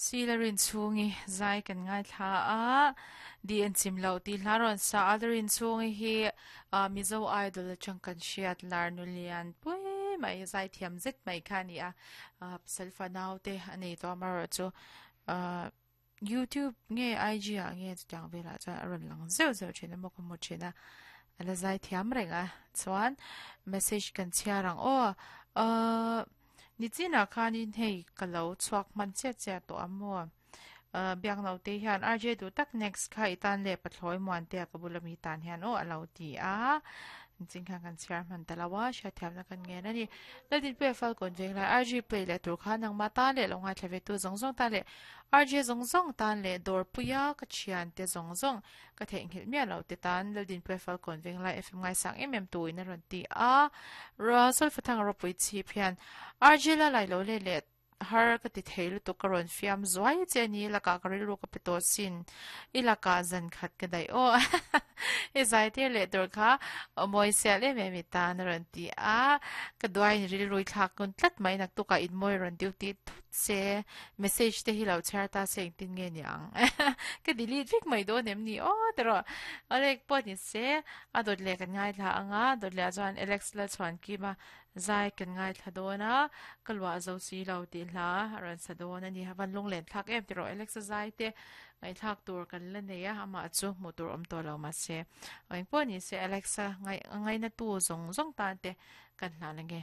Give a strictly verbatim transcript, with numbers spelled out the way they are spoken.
Silarin chungi zai kan ngai thla a di an chim lo ti hlaron sa adarin chungi hi Mizo Idol chang kan hriat lar nulian pui mai zai thiam zet mai khani a selfa nau te ani to amaro chu YouTube nge I G a nge chang vela chuan a rawn lang zeuh zeuh thin a maw ka hmu thin a ala zai thiam reng a chuan message kan chhiar ang aw uh nichina khanin hei ka lo chhuak hman chiat chiat tawh a maw biak no te hian R J du tak next kha itan le pathloi muan te ka bulami tan hian aw alo ti a ching khan kan chhiar hman talawa hria thiam na kan nge na ni ladin pe fal kon veng lai R G play le tur khan nang ma ta le longai thlave tu zong zong ta le R J zong zong tan le dor puya ka thian te zong zong ka theng hil mia lo te tan ladin pe fal kon veng lai F M ngai sang em em tu in ron ti a Russell fathang ro pui chi phian R J la lai lo le le har ka ti theilu to karon fiam zuai che ni laka ka rilu ka peto sin ilaka zan khat ka dai o e zai te le tor kha moi se le me mi ta na ron ti a ka duai ni rilu thla kun tlat mai nak tu ka in moi ron duty thut se message te hi lo char ta se tin nge niang ka delete vek mai do nem ni o tero alek pon ni se a dot le kan ngai thla anga dot le chuan Alex la chuan ki ma zai kan ngai thla do na kalwa zo si lo ti hla ran sa do na ni hawan lung len thak em tiro Alex zai te ngai thak tur kan la nei a ama chu mu tur om to lo ma se eng pon ni se Alexa ngai ngai na tu zong zong ta te kan hla na nge.